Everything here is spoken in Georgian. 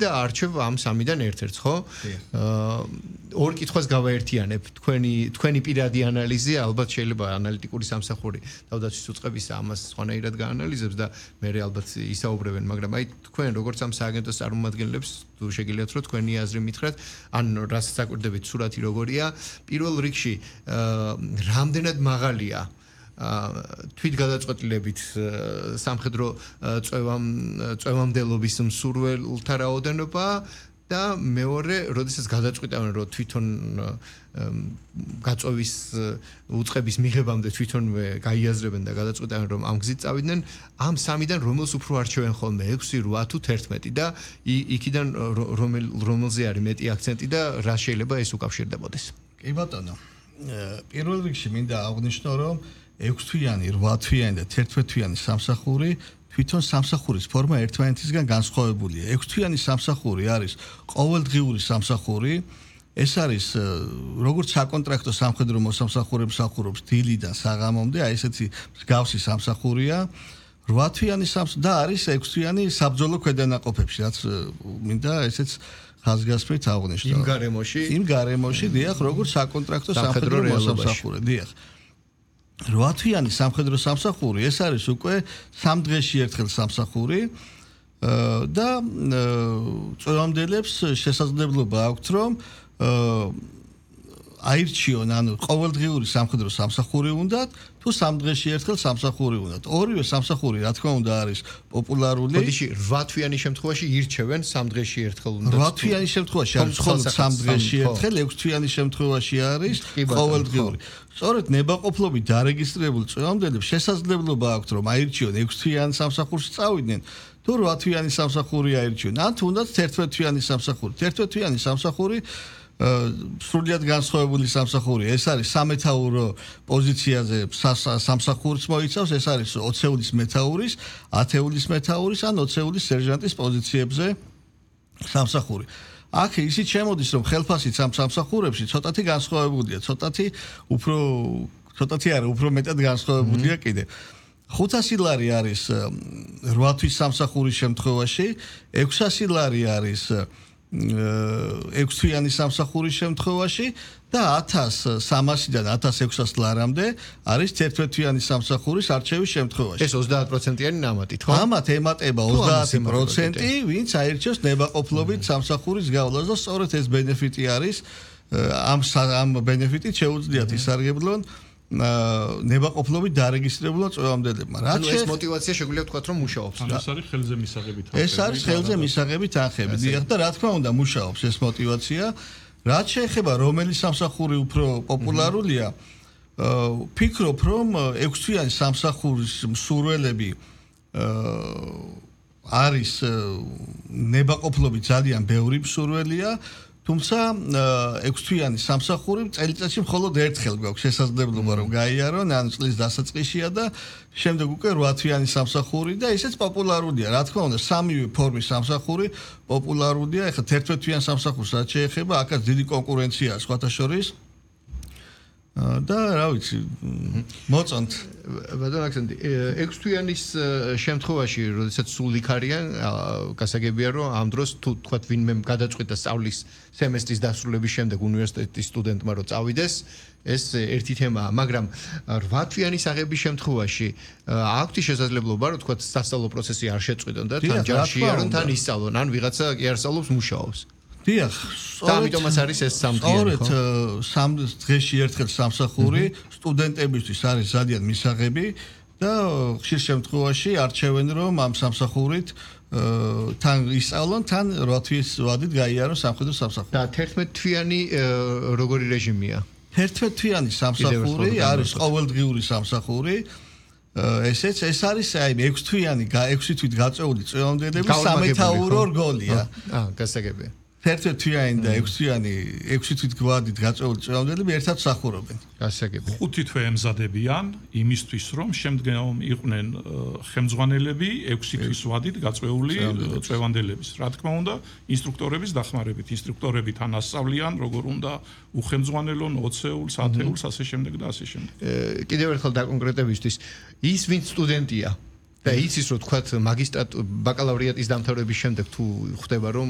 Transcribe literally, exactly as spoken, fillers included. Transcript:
და არჩევ ამ სამიდან ერთ-ერთს, ხო? ორ კითხვას გავაერთიანებ. თქვენი თქვენი პირადი ანალიზი ალბათ შეიძლება ანალიტიკური სამსახური თავდაცვის უწყების ამას სხვანაირად გაანალიზებს და მე ალბათ ისაუბრებენ, მაგრამ აი თქვენ როგორც ამ სააგენტოს წარმომადგენლებს თუ შეგიძლიათ რომ თქვენი აზრი მითხრათ, ან რას საკვირდებით სურათი როგორია, პირველ რიგში რამდენად მაღალია თვით გადაწყვეტილებით სამხედრო წვევამ წვევამდელობის მსურველთა რაოდენობა და მეორე, როდესაც გადაწყვეტავენ რომ თვითონ გაწვევის უწყების მიღებამდე თვითონვე გაიაზრებენ და გადაწყვეტავენ რომ ამ გზით წავიდნენ, ამ სამიდან რომელს უფრო არჩევენ ხოლმე ექვსი, რვა თუ თერთმეტი და იქიდან რომელ რომელზე არის მეტი აქცენტი და რა შეიძლება ეს უკავშირდებოდეს. კი ბატონო. პირველ რიგში მინდა აღვნიშნო რომ ექვსთვიანი, რვათვიანი და თერთმეტთვიანი სამსახური თვითონ სამსახურის ფორმა ერთმანეთისგან განსხვავებულია. ექვსთვიანი სამსახური არის ყოველდღიური სამსახური. ეს არის როგორც საკონტრაქტო სამხედრო მოსამსახურებს ახურობს დილიდან საღამომდე, აი ესეთი მსგავსი სამსახურია. რვათვიანი სამსახური და არის ექვსთვიანი საბრძოლო ქვედანაყოფებში, რაც მინდა ესეც ხაზგასმით აღვნიშნო. იმ გარემოში, იმ გარემოში, დიახ, როგორც საკონტრაქტო სამხედრო მოსამსახური, დიახ. რვათვიანი სამხედრო სამსახური, ეს არის უკვე სამ დღეში ერთხელ სამსახური და წვევამდელებს შესაძლებლობა აქვთ, რომ აირჩიონ, ანუ ყოველდღიური სამხედრო სამსახური უნდათ, თუ სამ დღეში ერთხელ სამსახური უნდათ. ორივე სამსახური, რა თქმა უნდა, არის პოპულარული. ხოდიში რვათვიანი შემთხვევაში ირჩევენ სამ დღეში ერთხელ უნდა. რვათვიანი შემთხვევაში არის მხოლოდ სამ დღეში ერთხელ, ექვსთვიანი შემთხვევაში არის ყოველდღიური. სწორედ ნებაყოფლობით დარეგისტრირებულ წვევამდელებს შესაძლებლობა აქვთ, რომ აირჩიონ ექვსთვიან სამსახურში წავიდნენ, თუ რვათვიანი სამსახური აირჩიონ, ან თუნდაც თერთმეტთვიანი სამსახური. თერთმეტთვიანი სამსახური სრულიად განსხვავებული სამსახური. ეს არის სამეთაურო პოზიციაზე სამსახურს მოიცავს, ეს არის ოცეულის მეთაურის, ათეულის მეთაურის ან ოცეულის სერჟანტის პოზიციებზე სამსახური. აქ ისიც შემოდის, რომ ხელფასიც ამ სამსახურებში ცოტათი განსხვავებულია, ცოტათი უფრო ცოტათი არა, უფრო მეტად განსხვავებულია კიდე. ხუთასი ლარი არის რვა თვის სამსახურის შემთხვევაში, ექვსასი ლარი არის ექვსთვიანი სამსახურის შემთხვევაში და ათას სამასიდან ათას ექვსას ლარამდე არის თერთმეტთვიანი სამსახურის არჩევის შემთხვევაში. ეს ოცდაათ პროცენტიანი ნამატით, ხო? ამათ ემატება ოცდაათი პროცენტი, ვინც აირჩევს ნებაყოფლობით სამსახურის გავლას და სწორედ ეს ბენეფიტი არის ამ ამ ბენეფიტით შეუძლიათ ისარგებლონ ნებაყოფლობით დარეგისტრირებულ წვევამდელებმა. რაც ეს მოტივაცია შეგვიძლია ვთქვათ, რომ მუშაობს. ეს არის ხელზე მისაღებით თანხები. ეს არის ხელზე მისაღებით თანხები. დიახ, და რა თქმა უნდა მუშაობს ეს მოტივაცია. რაც შეეხება რომელი სამსახური უფრო პოპულარულია, ფიქრობ, რომ ექვსთვიანი სამსახურის მსურველები არის ნებაყოფლობით ძალიან ბევრი მსურველია. თუმცა ექვსთვიანი სამსახური წელიწადში მხოლოდ ერთხელ გვაქვს შესაძლებლობა რომ გაიარონ, ან წლის დასაწყისშია და შემდეგ უკვე რვათვიანი სამსახური და ისეც პოპულარულია. რა თქმა უნდა, სამივე ფორმის სამსახური პოპულარულია. ეხლა თერთმეტთვიან სამსახურს რაც შეეხება, აქაც დიდი კონკურენციაა სხვათა შორის. და რა ვიცი, მოწონთ. ბატონ აქსენტი, ექვსთვიანის შემთხვევაში, როდესაც სულ იქ არიან, გასაგებია რომ ამ დროს თუ თქვათ ვინმე გადაწყვიტა სწავლის სემესტრის დასრულების შემდეგ უნივერსიტეტის სტუდენტმა რომ წავიდეს, ეს ერთი თემაა, მაგრამ რვათვიანის აღების შემთხვევაში აქვთ შესაძლებლობა რომ თქვათ სასწავლო პროცესი არ შეწყვიტონ და თან ჯარში არონ, თან ისწავლონ, ან ვიღაცა კი არ სწავლობს, მუშაობს. დიახ, ამიტომაც არის ეს სამდღიანი, ხო? სწორედ სამ დღეში ერთხელ სამსახური სტუდენტებისთვის არის ძალიან მისაღები და ხშირ შემთხვევაში არჩევენ რომ ამ სამსახურით თან ისწავლონ, თან რვა თვის ვადით გაიარონ სამხედრო სამსახური. და თერთმეტთვიანი როგორი რეჟიმია? თერთმეტთვიანი სამსახური არის ყოველდღიური სამსახური. ესეც ეს არის აი ექვსთვიანი, ექვსი თვით გაწეული წვევამდელების სამეთაურო რგოლია. აა, გასაგებია. თერთმეტთვიანი და ექვსთვიანი, ექვსი თვით გვადით გაწეული წვევამდელები ერთად მსახურობენ. გასაგებია. ხუთი თვე ემზადებიან იმისთვის, რომ შემდგომ იყვნენ ხელმძღვანელები ექვსი თვის ვადით გაწეული წვევანდელების. რა თქმა უნდა, ინსტრუქტორების დახმარებით, ინსტრუქტორები თან ასწავლიან, როგორ უნდა უხელმძღვანელონ ოცეულს, ათეულს, ასე შემდეგ და ასე შემდეგ. კიდევ ერთხელ დაკონკრეტებისთვის, ის ვინც სტუდენტია და იცის რომ თქვათ მაგისტრატ ბაკალავრიატის დამთავრების შემდეგ თუ ხვდება რომ